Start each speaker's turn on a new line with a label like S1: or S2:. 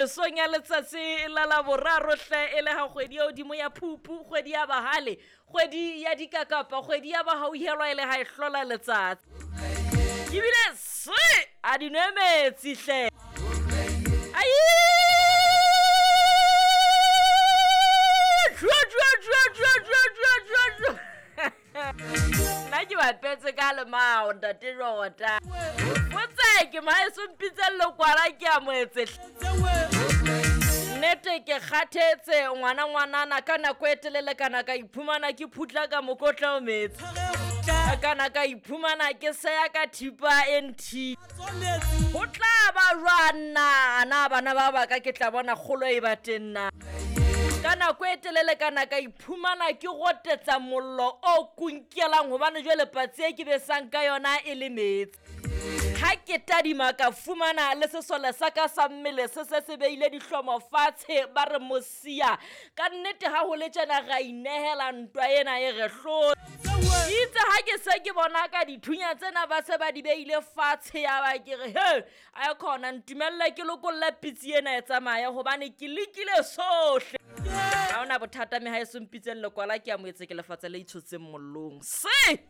S1: Mesong ya letsatsi la Laboraro hle e le ha kgwedi ya hodimo ya Phupu, kgwedi ya bahale, kgwedi ya dikakapa, kgwedi ya bahauhelwa e le ha e hlola letsatsi. Ebile se a di nwe metsi hle. Ai! Jwa, jwa, jwa, jwa, jwa, jwa, jwa, jwa. Nna ke bapetse ka lemao ntate Jota. Botse ke maeso mpitseng lekwala ke a moetse. Nnete ke kgathetse ngwana ngwanana ka nako e telele kana ka iphumana ke phutla ka mokotla o metsi. Kana ka iphumana ke seya ka thipa e nthi. Ho tla ba jwang na na bana ba baka ke tla bona kgolo e ba teng na. Ka nako e telele kana ka iphumana ke gotetsa mollo o kunkelang hobane jwale patsi e ke besang ka yona e le metsi. Ha ke tadima ka fumana le sesole sa ka sa mmele se se se beile dihlomo fatshe ba re mosia. Ka nnete ha ho le tjena ra inehela ntwa ena e re hlotse. Itse ha ke se ke bona ka dithunya tsena ba se ba di beile fatshe ya ba ke re he a khona ntumelle ke lokolle pitsi ena e tsamaya hobane ke lekile sohle. Ha hona bothata mme ha e so mpitseng lekwala ke a moetse ke lefatshe le itshotseng mollong. Se!